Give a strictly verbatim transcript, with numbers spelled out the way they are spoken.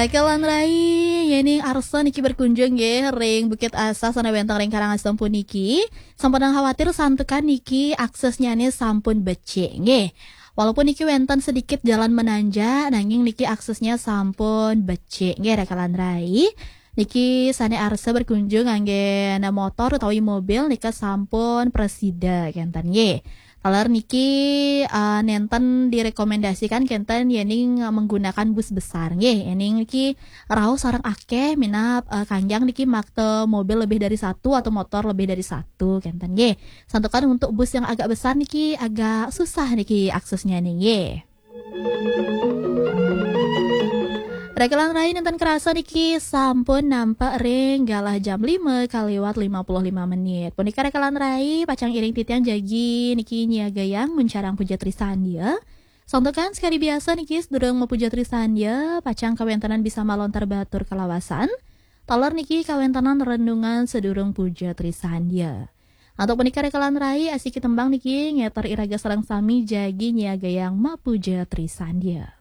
Raka lan rai, yéning arsa niki berkunjung nggih ring Bukit Asa sané wénten ring Karangasem puniki, sampunang khawatir santukan niki aksesnya né sampun becik nggih. Walaupun niki wénten sedikit jalan menanjak, nanging niki aksesnya sampun becik nggih, Raka lan rai. Niki sané arsa berkunjung nganggén motor utawi mobil nika sampun prasida kénten nggih. Taler niki, eh, nénten direkomendasikan kénten yéning menggunakan bus besar nggih. Yéning niki rauh sareng akéh minab, eh, kanjang niki makta mobil lebih dari satu atau motor lebih dari satu kénten nggih. Santukan untuk bus yang agak besar niki agak susah niki aksesnya nggih. Raka lan rai, nénten kerasa niki sampun nampek ring galah jam lima kaliwat lima puluh lima menit. Punika Raka lan rai, pacang iring titiang jagi niki nyiagayang muncarang puja trisandya. Santukan sekadi biasa niki sadurung mapuja trisandya, pacang kawéntenan bisa malontar batur kalawasan. Taler niki kawéntenan renungan sadurung puja trisandya. Antuk punika Raka lan rai, asiki tembang niki ngéter iraga sareng sami jagi nyiagayang mapuja trisandya.